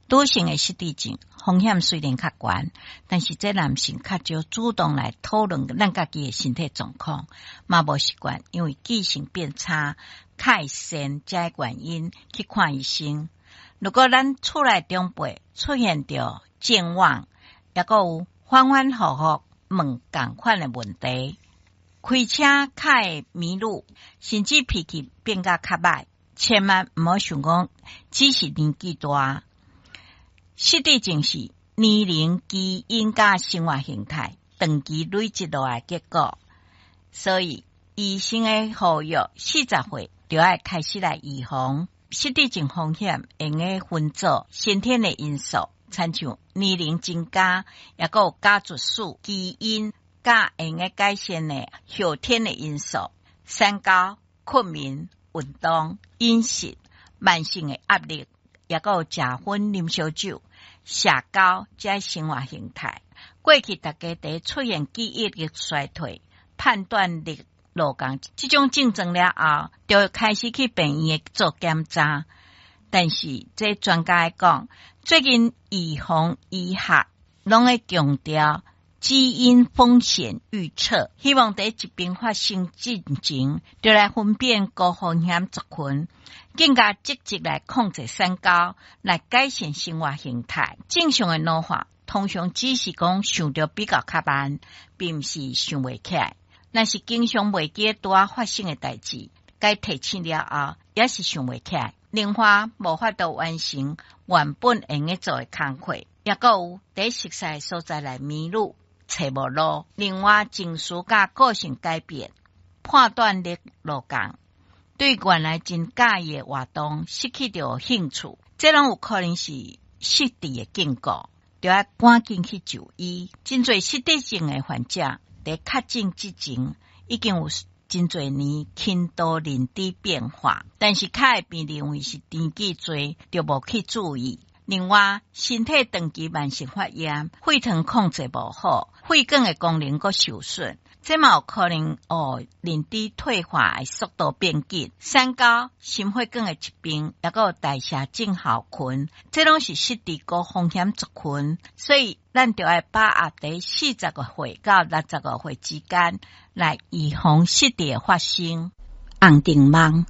女性的失智症風險雖然較懸，但是這男性較少主動來討論咱家己的身體狀況，嘛無習慣，因為記性變差，較會先這個原因去看醫生。如果咱厝內長輩出現著健忘，抑閣有反反覆覆問仝款的問題，開車較會迷路，甚至脾氣變甲較䆀，千萬毋好想講只是年紀大。失智症是年齡、基因佮生活形態長期累積落來的結果，所以醫生的呼籲，40歲就愛開始來預防失智症風險，會用得分做先天的因素，親像年齡增加，抑閣有家族史、基因，佮會用得改善的後天的因素，三高、睏眠、運動、飲食、慢性的壓力，抑閣有食薰、啉燒酒、社交這生活形態。過去大家佇出現記憶力衰退、判斷力落降這種症狀了後，就開始去病院做檢查。但是這專家講，最近預防醫學攏會強調基因風險預測，希望佇疾病發生之前，就來分辨高風險族群，更加積極來控制三高，來改善生活形態。正常的老化通常只是講想著比較較慢，並毋是想袂起來。若是經常袂記得拄仔發生的代誌，該提醒了後，也是想袂起來。另外，無法度完成原本會用得做的工課，抑閣有佇熟似的所在來迷路，揣無路。另外，情緒佮個性改變，判斷力落降，對原來真佮意的活動失去著興趣，這攏有可能是失智的警告，著愛趕緊去就醫。真濟失智症的患者，佇確診之前已經有真濟年輕度認知變化，但是較會被認為是年紀濟，就無去注意。另外，身體長期慢性發炎，血糖控制無好，血管的功能閣受損，這嘛有可能予認知退化的速度變緊。三高、心血管的疾病，抑閣有代謝症候群，這攏是失智高風險族群，所以咱就愛把握佇45歲到65歲之間來預防失智的發生。紅燈網。